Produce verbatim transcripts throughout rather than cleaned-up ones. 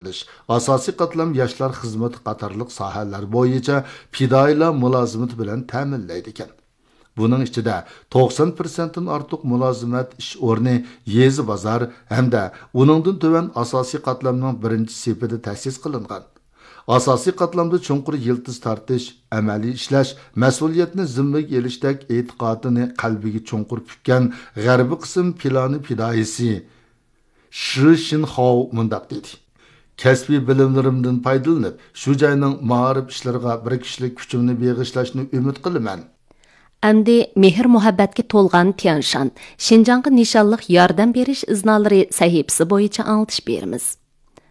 قىلىش، ئاساسىي قاتلام ياشلار خىزمىتى قاتارلىق ساھەلەر بويىچە پىدائىيلار مۇلازىمىتى بىلەن تەمىنلەيدىكەن. بۇنىڭ ئىچىدە توقسان پىرسەنتتىن ئارتۇق مۇلازىمەت ئىش ئورنى يېزا، بازار ھەمدە ئۇنىڭدىن تۆۋەن ئاساسىي قاتلامنىڭ بىرىنچى سېپىدە تەسىس قىلىنغان. ئاساسىي قاتلامدا چوڭقۇر يىلتىز تارتىش، ئەمەلىي ئىشلەش، مەسئۇلىيەتنى زىممىگە ئېلىشتەك ئېتىقادىنى قەلبىگە چوڭقۇر پۈككەن غەربىي قىسىم پىلانى پىدائىيسى شى شىنخاۋ مۇنداق دېدى: كەسپىي بىلىملىرىمدىن پايدىلىنىپ، شۇ جاينىڭ مائارىپ ئىشلىرىغا بىر كىشىلىك كۈچۈمنى بېغىشلاشنى ئۈمىد قىلىمەن. ئەمدى مېھىر-مۇھەببەتكە تولغان تيەنشان، شىنجاڭغا نىشانلىق ياردەم بېرىش ئىزنالىرى سەھىپىسى بويىچە ئاڭلىتىش بېرىمىز.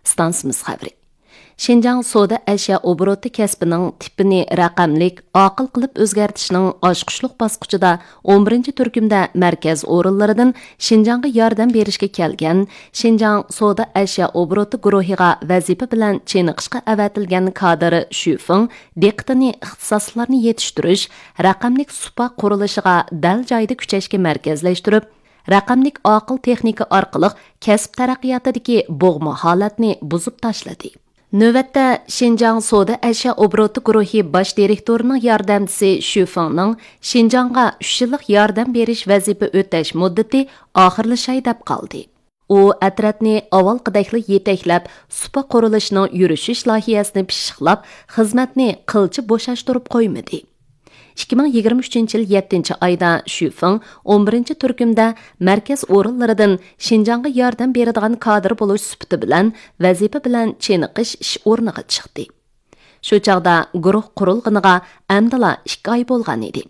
ئىستانسىمىز خەۋىرى. شىنجاڭ سودا ئەشيا ئوبوروتى كەسپىنىڭ تىپىنى رەقەملىك، ئاقىل قىلىپ ئۆزگەرتىشنىڭ ئاچقۇچلۇق باسقۇچىدا ئون بىرىنچى تۈركۈمدە مەركەز ئورۇنلىرىدىن شىنجاڭغا ياردەم بېرىشكە كەلگەن شىنجاڭ سودا ئەشيا ئوبوروتى گۇرۇھىغا ۋەزىپە بىلەن چېنىقىشقا ئەۋەتىلگەن كادىر شۈ فېڭ دىققىتىنى ئىختىساسلىقلارنى يېتىشتۈرۈش، رەقەملىك سۇپا قۇرۇلۇشىغا دەل جايىدا كۈچەشكە مەركەزلەشتۈرۈپ، رەقەملىك ئاقىل تېخنىكا ئارقىلىق كەسىپ تەرەققىياتىدىكى بوغما ھالەتنى بۇزۇپ تاشلىدى. نۆۋەتتە، شىنجاڭ سودا ئەشيا ئوبوروتى گۇرۇھى باش دىرېكتورىنىڭ ياردەمچىسى شۈ فېڭنىڭ شىنجاڭغا ئۈچ يىللىق ياردەم بېرىش ۋەزىپە ئۆتەش مۇددىتى ئاخىرلىشاي دەپ قالدى. ئۇ ئەترەتنى ئاۋۋالقىدەكلا يېتەكلەپ، سۇپا قۇرۇلۇشىنىڭ يۈرۈشۈش لايىھەسىنى پىششىقلاپ، خىزمەتنى قىلچە بوشاشتۇرۇپ قويمىدى. ئىككى مىڭ يىگىرمە ئۈچىنچى يىل يەتتىنچى ئايدا شۈ فېڭ ئون بىرىنچى تۈركۈمدە مەركەز ئورۇنلىرىدىن شىنجاڭغا ياردەم بېرىدىغان كادىر بولۇش سۈپىتى بىلەن ۋەزىپە بىلەن چېنىقىش ئىش ئورنىغا چىقتى. شۇ چاغدا گۇرۇھ قۇرۇلغىنىغا ئەمدىلا ئىككى ئاي بولغان ئىدى.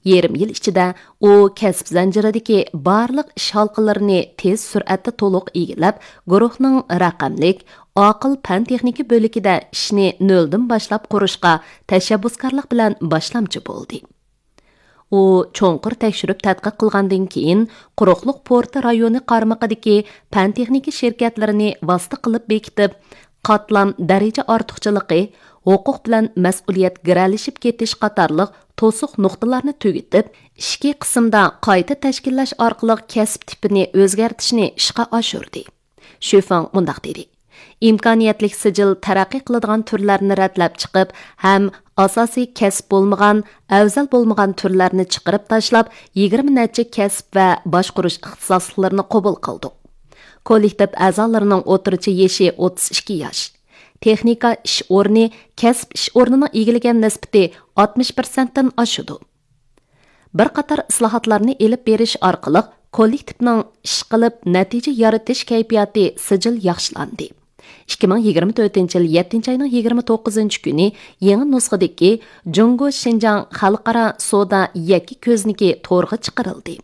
يېرىم يىل ئىچىدە ئۇ كەسىپ زەنجىرىدىكى بارلىق ئىش ھالقىلىرىنى تېز سۈرئەتتە تولۇق ئىگىلەپ، گۇرۇھنىڭ رەقەملىك، ئاقىل پەن تېخنىكا بۆلىكىدە ئىشنى نۆلدىن باشلاپ قۇرۇشقا تەشەببۇسكارلىق بىلەن باشلامچى بولدى. ئۇ چوڭقۇر تەكشۈرۈپ تەتقىق قىلغاندىن كېيىن، قۇرۇقلۇق پورتى رايونى قارمىقىدىكى پەن تېخنىكا شىركەتلىرىنى ۋاسىتە قىلىپ بېكىتىپ، قاتلام دەرىجە ئارتۇقچىلىقى، ھوقۇق بىلەن مەسئۇلىيەت گىرەلىشىپ كېتىش قاتارلىق توسۇق نۇقتىلارنى تۈگىتىپ، ئىچكى قىسىمدا قايتا تەشكىللەش ئارقىلىق كەسىپ تىپىنى ئۆزگەرتىشنى ئىشقا ئاشۇردى. شۈ فېڭ مۇنداق دېدى: ئىمكانىيەتلىك سىجىل تەرەققىي قىلىدىغان تۈرلەرنى رەتلەپ چىقىپ ھەم ئاساسىي كەسىپ بولمىغان، ئەۋزەل بولمىغان تۈرلەرنى چىقىرىپ تاشلاپ، يىگىرمە نەچچە كەسىپ ۋە باشقۇرۇش ئىختىساسلىقلىرىنى قوبۇل قىلدۇق. كوللېكتىپ ئەزالىرىنىڭ ئوتتۇرىچە يېشى ئوتتۇز ئىككى ياش. تېخنىكا ئىش ئورنى كەسىپ ئىش ئورنىنىڭ ئىگىلىگەن نىسبىتى ئاتمىش پىرسەنتتىن ئاشىدۇ. بىر قاتار ئىسلاھاتلارنى ئېلىپ بېرىش ئارقىلىق كوللېكتىپنىڭ ئىشقىلىپ نەتىجە يارىتىش كەيپىياتى سىجىل ياخشىلاندى. ئىككى مىڭ يىگىرمە تۆتىنچى يىل يەتتىنچى ئاينىڭ يىگىرمە توققۇزىنچى كۈنى يېڭى نۇسخىدىكى جۇڭگو شىنجاڭ خەلقئارا سودا يەككە كۆزنىكى تورغا چىقىرىلدى.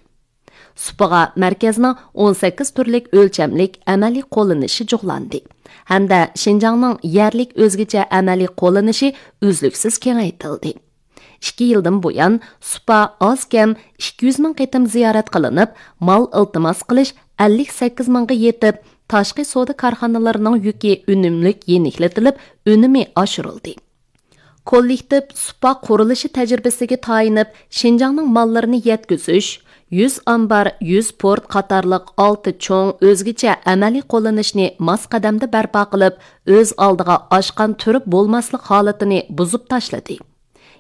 سۇپىغا مەركەزنىڭ ئون سەككىز تۈرلۈك ئۆلچەملىك ئەمەلىي قوللىنىشى جۇغلاندى ھەمدە شىنجاڭنىڭ يەرلىك ئۆزگىچە ئەمەلىي قوللىنىشى ئۈزلۈكسىز كېڭەيتىلدى. ئىككى يىلدىن بۇيان، سۇپا ئاز كەم ئىككى يۈز مىڭ قېتىم زىيارەت قىلىنىپ، مال ئىلتىماس قىلىش ئەللىك سەككىز مىڭغا يېتىپ، تاشقى سودا كارخانىلىرىنىڭ يۈكى ئۈنۈملۈك يېنىكلىتىلىپ، ئۈنۈمى ئاشۇرۇلدى. كوللېكتىپ سۇپا قۇرۇلۇشى تەجرىبىسىگە تايىنىپ، شىنجاڭنىڭ ماللىرىنى يەتكۈزۈش، يۈز ئامبار، يۈز پورت قاتارلىق ئالتە چوڭ ئۆزگىچە ئەمەلىي قوللىنىشنى ماس قەدەمدە بەرپا قىلىپ، ئۆز ئالدىغا ئاشقان تۈرۈپ بولماسلىق ھالىتىنى بۇزۇپ تاشلىدى.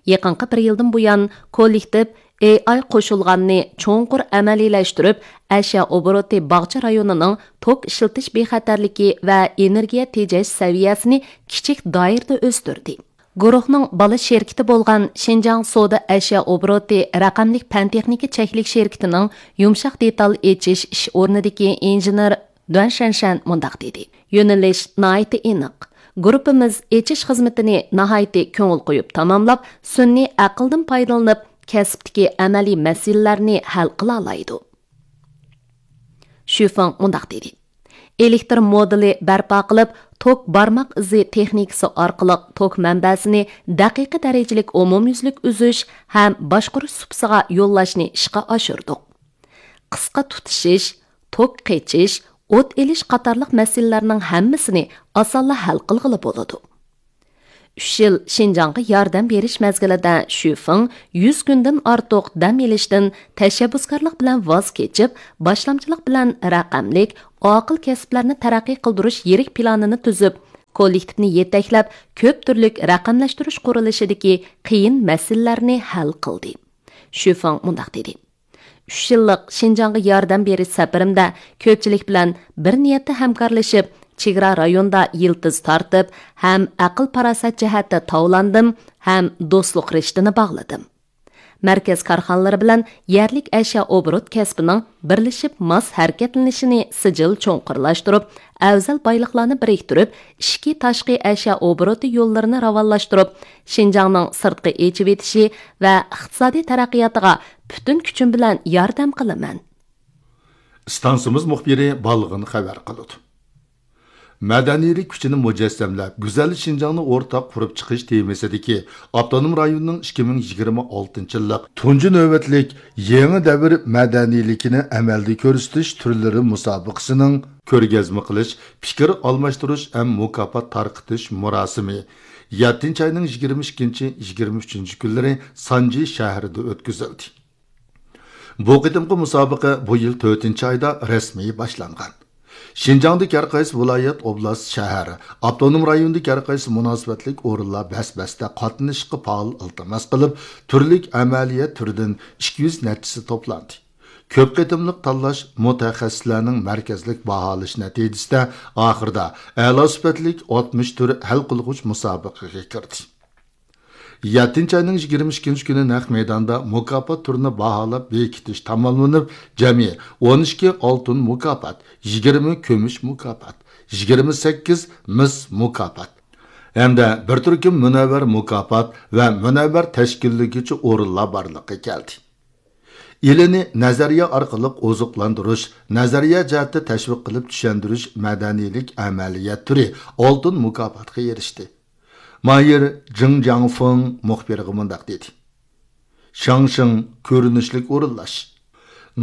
يېقىنقى بىر يىلدىن بۇيان، كوللېكتىپ ئېي ئاي قوشۇلغاننى چوڭقۇر ئەمەلىيلەشتۈرۈپ، ئەشيا ئوبوروتى باغچە رايونىنىڭ توك ئىشلىتىش بىخەتەرلىكى ۋە ئېنېرگىيە تېجەش سەۋىيەسىنى كىچىك دائىرىدە ئۆستۈردى. گۇرۇھنىڭ بالا شىركىتى بولغان شىنجاڭ سودا ئەشيا ئوبوروتى رەقەملىك پەن تېخنىكا چەكلىك شىركىتىنىڭ يۇمشاق دېتال ئېچىش ئىش ئورنىدىكى ئىنژېنېر دۇەن شەنشەن مۇنداق دېدى: يۆنىلىش ناھايىتى ئېنىق. گۇرۇپپىمىز ئېچىش خىزمىتىنى ناھايىتى كۆڭۈل قويۇپ تاماملاپ، سۈنئىي ئەقىلدىن پايدىلىنىپ، كەسىپتىكى ئەمەلىي مەسىلىلەرنى ھەل قىلالايدۇ. شۈفېڭ مۇنداق دېدى: ئېلېكتر مودېلى بەرپا قىلىپ، توك بارماق ئىزى تېخنىكىسى ئارقىلىق توك مەنبەسىنى دەقىقە دەرىجىلىك ئومۇميۈزلۈك ئۈزۈش ھەم باشقۇرۇش سۇپىسىغا يوللاشنى ئىشقا ئاشۇردۇق. قىسقا تۇتىشىش، توك قېچىش، ئوت ئېلىش قاتارلىق مەسىلىلەرنىڭ ھەممىسىنى ئاسانلا ھەل قىلغىلى بولىدۇ. ئۈچ يىل شىنجاڭغا ياردەم بېرىش مەزگىلىدە شۈفېڭ يۈز كۈندىن ئارتۇق دەم ئېلىشتىن تەشەببۇسكارلىق بىلەن ۋاز كېچىپ، باشلامچىلىق بىلەن رەقەملىك، ئاقىل كەسىپلەرنى تەرەققىي قىلدۇرۇش يىرىك پىلانىنى تۈزۈپ، كوللېكتىپنى يېتەكلەپ، كۆپ تۈرلۈك رەقەملەشتۈرۈش قۇرۇلۇشىدىكى قىيىن مەسىلىلەرنى ھەل قىلدى. شۈفېڭ مۇنداق دېدى: «ئۈچ يىللىق شىنجاڭغا ياردەم بېرىش سەپىرىمدە كۆپچىلىك بىلەن بىر نىيەتتە ھەمكارلىشىپ، چېگرا رايوندا يىلتىز تارتىپ، ھەم ئەقىل-پاراسەت جەھەتتە تاۋلاندىم، ھەم دوستلۇق رىشتىنى باغلىدىم.» مەركەز كارخانىلىرى بىلەن يەرلىك ئەشيا ئوبوروت كەسپىنىڭ بىرلىشىپ ماس ھەرىكەتلىنىشىنى سىجىل چوڭقۇرلاشتۇرۇپ، ئەۋزەل بايلىقلارنى بىرىكتۈرۈپ، ئىچكى، تاشقى ئەشيا ئوبوروتى يوللىرىنى راۋانلاشتۇرۇپ، شىنجاڭنىڭ سىرتقا ئېچىۋېتىشى ۋە ئىقتىسادىي تەرەققىياتىغا پۈتۈن كۈچۈم بىلەن ياردەم قىلىمەن. ئىستانسىمىز مۇخبىرى بالغىن خەۋەر قىلىدۇ. مەدەنىيلىك كۈچىنى مۇجەسسەملەپ، گۈزەل شىنجاڭنى ئورتاق قۇرۇپ چىقىش تېمىسىدىكى ئاپتونوم رايوننىڭ ئىككى مىڭ يىگىرمە ئالتىنچى يىللىق تۇنجى نۆۋەتلىك يېڭى دەۋر مەدەنىيلىكىنى ئەمەلدە كۆرسىتىش تۈرلىرى مۇسابىقىسىنىڭ كۆرگەزمە قىلىش، پىكىر ئالماشتۇرۇش ھەم مۇكاپات تارقىتىش مۇراسىمى يەتتىنچى ئاينىڭ يىگىرمە ئىككىنچى، يىگىرمە ئۈچىنچى كۈنلىرى سانجى شەھىرىدە ئۆتكۈزۈلدى. بۇ قېتىمقى مۇسابىقە بۇ يىل تۆتىنچى ئايدا رەسمىي باشلانغان. شىنجاڭدىكى ھەر قايسى ۋىلايەت، ئوبلاست، شەھەر، ئاپتونوم رايوندىكى ھەر قايسى مۇناسىۋەتلىك ئورۇنلار بەس-بەستە قاتنىشىشقا پائال ئىلتىماس قىلىپ، تۈرلۈك ئەمەلىيەت تۈرىدىن ئىككى يۈز نەچچىسى توپلاندى. كۆپ قېتىملىق تاللاش مۇتەخەسسىسلەرنىڭ مەركەزلىك باھالاش نەتىجىسىدە ئاخىرىدا ئەلا سۈپەتلىك ئاتمىش تۈر ھەل قىلغۇچ مۇسابىقىگە كىردى. يەتتىنچى ئاينىڭ يىگىرمە ئىككىنچى كۈنى نەق مەيداندا مۇكاپات تۈرىنى باھالاپ بېكىتىش تاماملىنىپ، جەمئىي ئون ئىككى ئالتۇن مۇكاپات، يىگىرمە كۈمۈش مۇكاپات، يىگىرمە سەككىز مىس مۇكاپات ھەمدە بىر تۈركۈم مۇنەۋۋەر مۇكاپات ۋە مۇنەۋۋەر تەشكىللىگۈچى ئورۇنلار بارلىققا كەلدى. ئىلىنى نەزەرىيە ئارقىلىق ئوزۇقلاندۇرۇش، نەزەرىيە جەھەتتە تەشۋىق قىلىپ چۈشەندۈرۈش مەدەنىيلىك ئەمەلىيەت تۈرى ئالتۇن مۇكاپاتقا ئېرىشتى. ماھىر جېڭ جياڭفېڭ مۇخبىرغا مۇنداق دېدى: شاڭشىڭ، كۆرۈنۈشلۈك ئورۇنلاش،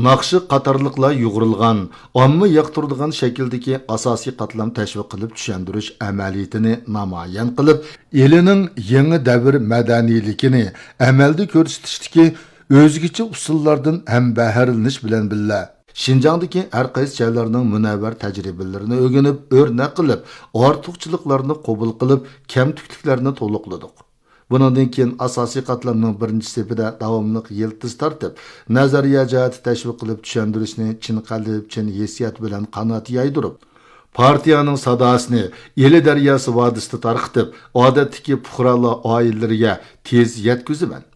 ناخشا قاتارلىقلار يۇغۇرۇلغان، ئامما ياقتۇرىدىغان شەكىلدىكى ئاساسىي قاتلام تەشۋىق قىلىپ چۈشەندۈرۈش ئەمەلىيىتىنى نامايان قىلىپ، ئىلىنىڭ يېڭى دەۋر مەدەنىيلىكىنى ئەمەلدە كۆرسىتىشتىكى ئۆزگىچە ئۇسۇللاردىن ھەم بەھرىلىنىش بىلەن بىللە، شىنجاڭدىكى ھەر قايسى جايلارنىڭ مۇنەۋۋەر تەجرىبىلىرىنى ئۆگىنىپ، ئۆرنەك قىلىپ، ئارتۇقچىلىقلارنى قوبۇل قىلىپ، كەمتۈكلۈكلەرنى تولۇقلىدۇق. بۇنىڭدىن كېيىن ئاساسىي قاتلامنىڭ بىرىنچى سېپىدە داۋاملىق يىلتىز تارتىپ، نەزەرىيە جەھەتتە تەشۋىق قىلىپ چۈشەندۈرۈشنى چىن قەلب، چىن ھېسسىيات بىلەن قانات يايدۇرۇپ، پارتىيەنىڭ ساداسىنى ئىلى دەرياسى ۋادىسىدا تارقىتىپ، ئادەتتىكى پۇقرالار ئائىلىلىرىگە تېز يەتكۈزىمەن.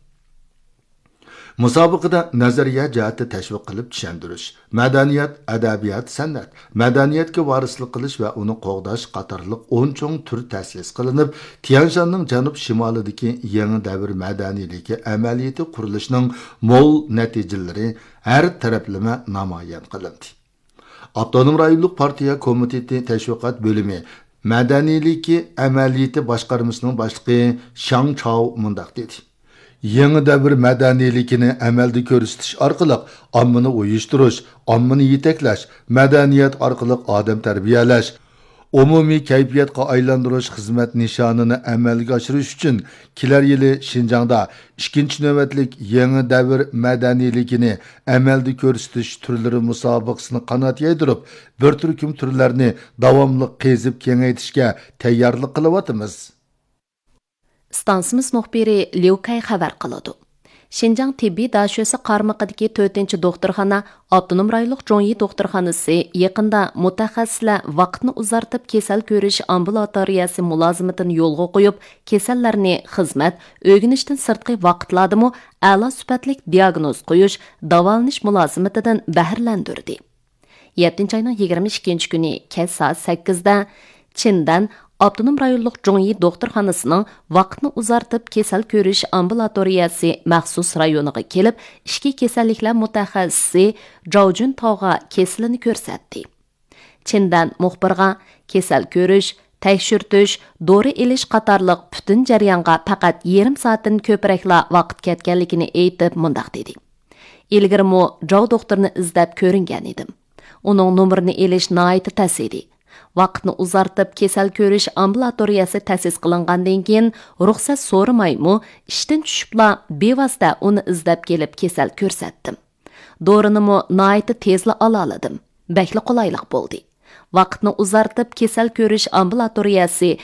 مۇسابىقىدە نەزەرىيە جەھەتتە تەشۋىق قىلىپ چۈشەندۈرۈش، مەدەنىيەت، ئەدەبىيات، سەنئەت، مەدەنىيەتكە ۋارىسلىق قىلىش ۋە ئۇنى قوغداش قاتارلىق ئون چوڭ تۈر تەسىس قىلىنىپ، تيەنشاننىڭ جەنۇب شىمالىدىكى يېڭى دەۋر مەدەنىيلىكى ئەمەلىيىتى قۇرۇلۇشىنىڭ مول نەتىجىلىرى ھەر تەرەپلىمە نامايان قىلىندى. ئاپتونوم رايونلۇق پارتىيە كومىتېتى تەشۋىقات بۆلۈمى مەدەنىيلىكى ئەمەلىيىتى باشقارمىسىنىڭ باشلىقى شاڭ چاۋ مۇنداق دېدى: يېڭى دەۋر مەدەنىيلىكىنى ئەمەلدە كۆرسىتىش ئارقىلىق ئاممىنى ئۇيۇشتۇرۇش، ئاممىنى يېتەكلەش، مەدەنىيەت ئارقىلىق ئادەم تەربىيەلەش، ئومۇمىي كەيپىياتقا ئايلاندۇرۇش خىزمەت نىشانىنى ئەمەلگە ئاشۇرۇش ئۈچۈن، كېلەر يىلى شىنجاڭدا ئىككىنچى نۆۋەتلىك يېڭى دەۋر مەدەنىيلىكىنى ئەمەلدە كۆرسىتىش تۈرلىرى مۇسابىقىسىنى قانات يايدۇرۇپ، بىر تۈركۈم تۈرلەرنى داۋاملىق قېزىپ كېڭەيتىشكە تەييارلىق قىلىۋاتىمىز. ئىستانسىمىز مۇخبىرى ليۇ كەي خەۋەر قىلىدۇ. شىنجاڭ تېببىي داشۆسى قارمىقىدىكى تۆتىنچى دوختۇرخانا، ئاپتونوم رايونلۇق جۇڭيى دوختۇرخانىسى يېقىندا مۇتەخەسسىسلەر ۋاقىتنى ئۇزارتىپ كېسەل كۆرۈش ئامبۇلاتورىيەسى مۇلازىمىتىنى يولغا قويۇپ، كېسەللەرنى خىزمەت، ئۆگىنىشتىن سىرتقى ۋاقىتلاردىمۇ ئەلا سۈپەتلىك دىياگنوز قويۇش، داۋالىنىش مۇلازىمىتىدىن بەھرىلەندۈردى. يەتتىنچى ئاينىڭ يىگىرمە ئىككىنچى كۈنى كەچ سائەت سەككىزدە چىندەن ئاپتونوم رايونلۇق جۇڭيى دوختۇرخانىسىنىڭ ۋاقىتنى ئۇزارتىپ كېسەل كۆرۈش ئامبۇلاتورىيەسى مەخسۇس رايونىغا كېلىپ، ئىچكى كېسەللىكلەر مۇتەخەسسىسى جاۋ جۈنتاۋغا كېسىلىنى كۆرسەتتى. چىندەن مۇخبىرغا كېسەل كۆرۈش، تەكشۈرتۈش، دورا ئېلىش قاتارلىق پۈتۈن جەريانغا پەقەت يېرىم سائەتتىن كۆپرەكلا ۋاقىت كەتكەنلىكىنى ئېيتىپ، مۇنداق دېدى: ئىلگىرىمۇ جاۋ دوختۇرنى ئىزدەپ كۆرۈنگەن ئىدىم. ئۇنىڭ نومۇرىنى ئېلىش ناھايىتى تەس ئىدى. ۋاقىتنى ئۇزارتىپ، كېسەل كۆرۈش ئامبۇلاتورىيەسى تەسىس قىلىنغاندىن كېيىن، رۇخسەت سورىمايمۇ، ئىشتىن چۈشۈپلا بىۋاسىتە ئۇنى ئىزدەپ كېلىپ كېسەل كۆرسەتتىم. دورىنىمۇ ناھايىتى تېزلا ئالالىدىم. بەكلا قولايلىق بولدى. ۋاقىتنى ئۇزارتىپ، كېسەل كۆرۈش ئامبۇلاتورىيەسى